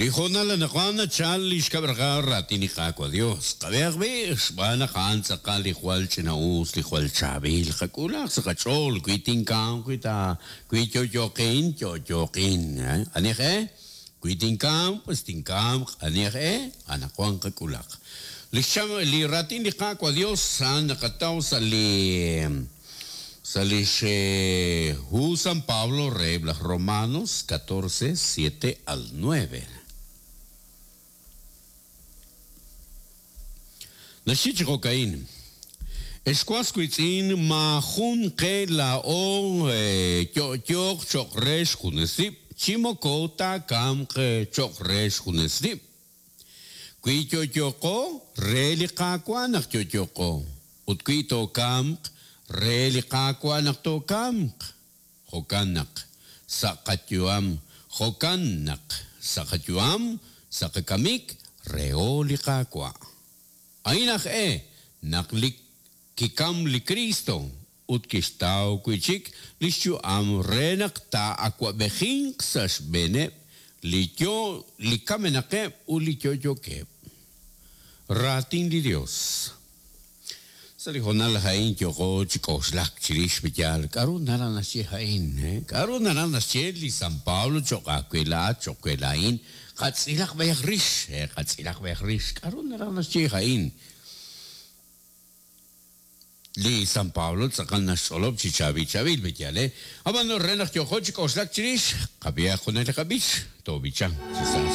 Li hoonal anaqwan nachal li xkab' raqal raatin li Qaawa' Dios. Qab'ehaq b'i', xb'aan naq a'an tz'aqal li jwal ch'ina-us, li jwal chaab'il. Qak'uulaq sa' qach'ool, wi tinkamq, wi ta, wi yo'yooqin, yo'yooqin. Ani aj-e? Wi tinkamq, pues tinkamq. Ani aj-e? Anaqwan qak'ulaq. Li xcham, li raatin li Qaawa' Dios a'an naqataw sa' li, sa' lix hu San Pablo reheb' laj Romanos 14, 7 al 9. Naxye chi jo'ka'in, Ex was wiitz'in, maajun qe laa'o yo'yooq cho'q re xjunes rib', chi moko taakamq cho'q re xjunes rib'. Wi yo'yooqo, re li Qaawa' naq yo'yooqo, ut wi tookamq, re li Qaawa' naq tookamq. Jo'kan naq, sa' qayu'am, jo'kan naq, sa' qayu'am, sa' qakamik, reho li Qaawa'. A'in aj-e naq li kikam li Kristo ut kixtaw wi' chik li xyu'am re naq taa'awab'ejinq sa' xb'eeneb' li yo li kamenaqeb' ut li yo'yookeb'. Raatin li Yos. Sa' li hoonal a'in yooqo chi k'oxlak chirix li yaal. K'a'ru naraj naxye a'in? K'a'ru naraj naxye li San Pablo cho'q aawe laa'at, cho'q we laa'in? Qatz'ilaq b'ayaq rix, qatz'ilaq b'ayaq rix. K'a'ru naraj naxye a'in? Li San Pablo tz'aqal naxch'olob' chi chaab'il chaab'il, pe'yaal, eh? Ab'an re naq yooqo chi k'oxlak chirix, qab'ihaq junaq li qab'ich, toob'ichanq chi sa.